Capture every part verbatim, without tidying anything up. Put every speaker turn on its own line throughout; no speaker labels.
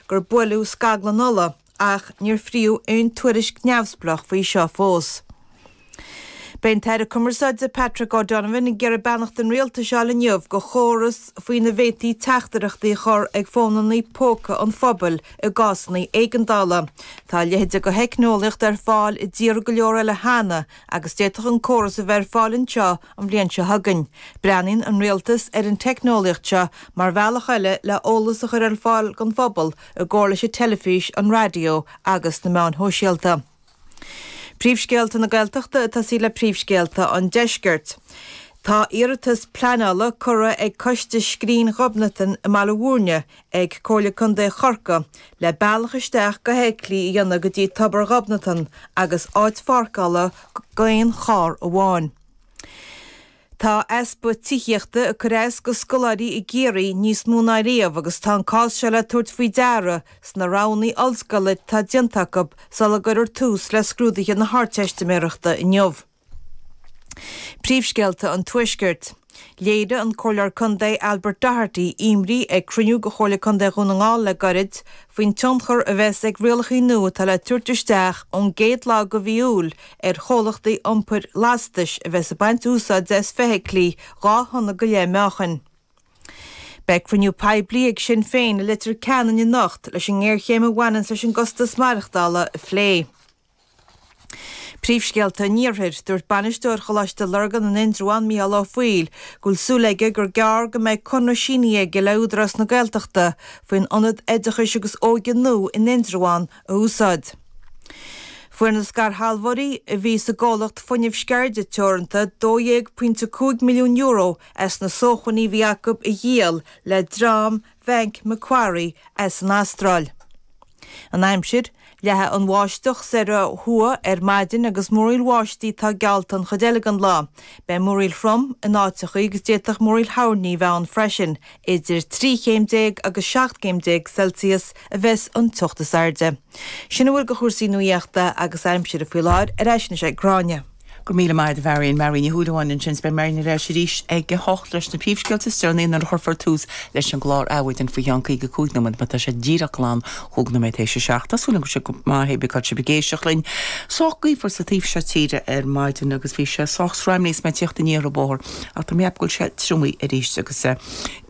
gur buaileadh scaglann ola ach níor fríodh aon tuairisc neamhspleách faoi seo fós. Beidh an tAire Cumarsáide Patrick O'Donovan ag iarraidh beannacht an rialtais a fháil inniu do chóras faoina bhféadfaí teachtaireachtaí a chur ag fónanna póca an phobail i gcásanna éigeandála. Tá a leithéid de theicneolaíocht ar fáil i dtíortha go leor eile cheana agus d'fhéadfadh an córas a bheith ar fáil anseo an bhliain seo chugainn. Breathnaíonn an rialtas ar an teicneolaíocht seo mar bhealach eile le eolas a chur ar fáil don phobal i gcomhar leis an teilifís, an raidió agus na meáin shóisialta. Príomhscéalta na Gaeltachta ag tosaí le príomhscéalta an Deiscirt. Tá iarratas pleanála curtha ag Coiste Scrín Ghobnatan i mBaile Bhúirne ag Comhairle Contae Chorcaí le bealach isteach do fheithiclí a dhéanamh go dtí Tobar Ghobnatan agus áit pháirceála d'aon charr amháin. Tá easpa tithíochta ag cur as do scoláirí i gCiarraí níos mó ná riamh agus tá an cás seo le tabhairt faoi deara sna roghanna ollscoile atá déanta acu sula gcuirfear tús le scrúduithe na hArdteistiméireachta inniu. Príomhscéalta an Tuaiscirt. Léirigh an Comhairleoir Contae Albert Doherty imní ag cruinniú de Chomhairle Contae Dhún na nGall le gairid faoin tionchar a bheas ag rialacha nua atá le tabhairt isteach ón gcéad lá de mhí Iúil ar chomhlachtaí iompair lastais a bheas ag baint úsáide as feithiclí dhá thonna go leith meáchain. Beidh cruinniú poiblí ag Sinn Féin i Leitir Ceanainn anocht leis an ngéarchéim a bhaineann leis an gcostas maireachtála a phlé. Príomhscéalta an Iarthair, Dúirt bainisteoir Choláiste Lurgan in Indreabhán, Mícheál Ó Foighil, go bhfuil súil aige gur gearr go mbeidh conradh sínithe aige le Údarás na Gaeltachta faoin ionad oideachais agus óige nua in Indreabhán a úsáid. Fuair na scairshealbhóirí a bhí sa gcomhlacht Fuinneamh Sceirde Teoranta dó dhéag pointe cúig milliún euro as na sócmhainní a bhí acu a dhíol le dream Bhanc Macquarie as an Astráil. An aimsir, Leathfaidh an bháisteach soir ó thuaidh ar maidin agus múraíl bháistí atá geallta an chuid eile den lá. Beidh múraíl throm in áiteachaí agus d'fhéadfadh múraíl thoirní a bheith ann freisin. Idir trí chéim déag agus seacht gcéim déag Celsius a bheas an teocht is airde. Sin a bhfuil de chúrsaí nuaíochta agus aimsire faoi láthair, ar ais anois ag Gráinne.
Go raibh míle maith agat a Mharion, Marion Ní Shúilleabháin ansin is beidh Marion ar ais arís ag a hocht leis na príomhscéalta is deireanaí nuair a chuirfear tús leis an gclár Adhmhaidin faoi cheann caoga cúig nóiméad mar tá sé díreach glan chúig nóiméad théis a seacht. Tá súil agam go bhfuil sibh go maith hé bí cá sibh ag éisteacht linn. Sách gaofar sa taobh seo tíre ar maidin agus bhí sé sách sreamnaí is mé ag tíocht aniar an bóthar ach tá mé ag ceapadh go bhfuil sé triomaithe arís agus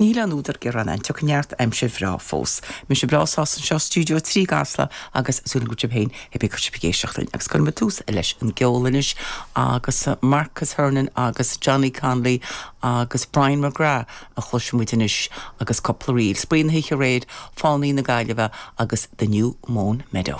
níl aon údar gearáin ann. Tiocfaidh neart aimsir bhreá fós. Mise breá sásta anseo i Stiúideo a trí i gCasla agus súil agam go bhfuil sibh féin hé bí cá sibh ag éisteacht linn agus cuirfidh muid tús leis an gceol anois agus Marcus Hernon agus Johnny Connolly agus Brian McGrath a chloisfidh muid anois agus cúpla ríl. Spraoi na hoíche aréir, Fánaí na Gaillimhe agus The New Mown Meadow.